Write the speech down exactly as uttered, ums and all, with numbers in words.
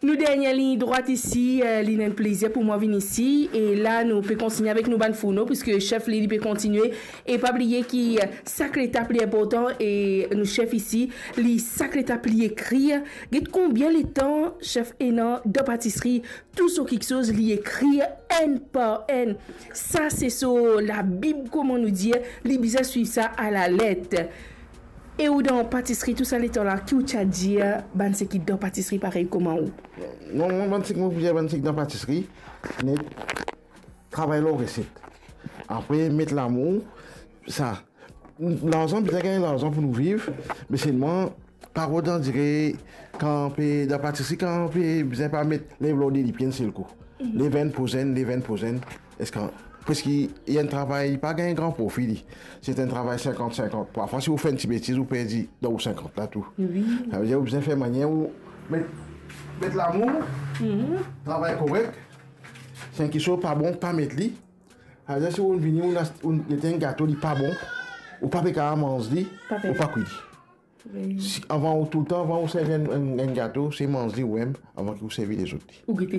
Nou dernie lign drwat isi, eh, li enn plezir pou mwa vinn isi. E la, nou pe kontigne avek nou bann fourno, piski sef li, li pe kontigne. E pa bliye ki, eh, sak letap li inportan, e nou sef isi, li sak letap li ekrir. Get konbien letan sef ena dan patisri, tou so kiksoz li ekrir enn par enn. Sa se so labib, kouma nou dir, li bizin swiv sa alalet. E ou dan patisri tou sa letan la, ki ou ti a dir bann seki dan patisri parey kouma ou? Non, mwa, bann seki mo pou dir bann seki dan patisri, net, travay lor reset. Apre, met lamour, sa. Larzan, bizin gagn larzan pou nou viv, me selman, pa rod andire kan pe dan patisri, kan pe bizin pa met, lev lor de lipie enn sel kou. Lev enn, poz enn, lev enn, poz enn. Eski, paski li enn travay, li pa gagn gran profi, li. Se enn travay sinkant sinkant. Parfwa, si ou fer enn ti betiz, ou perdi dan ou sinkant la tou. Wi. Savedir, ou bizin fer manier ou met, met lamour, travay korek. Si enn kiksoz pa bon, pa met li. Savedir, si ou vini, ou ast-, ou get enn gato, li pa bon, ou pa pe kapav manz li, pa pe ou pa kwi li. Wi. Si, avan ou, toultan, avan ou servi enn, enn, enn gato, se manz li ou mem, avan ki ou servi lezot li. Ou gete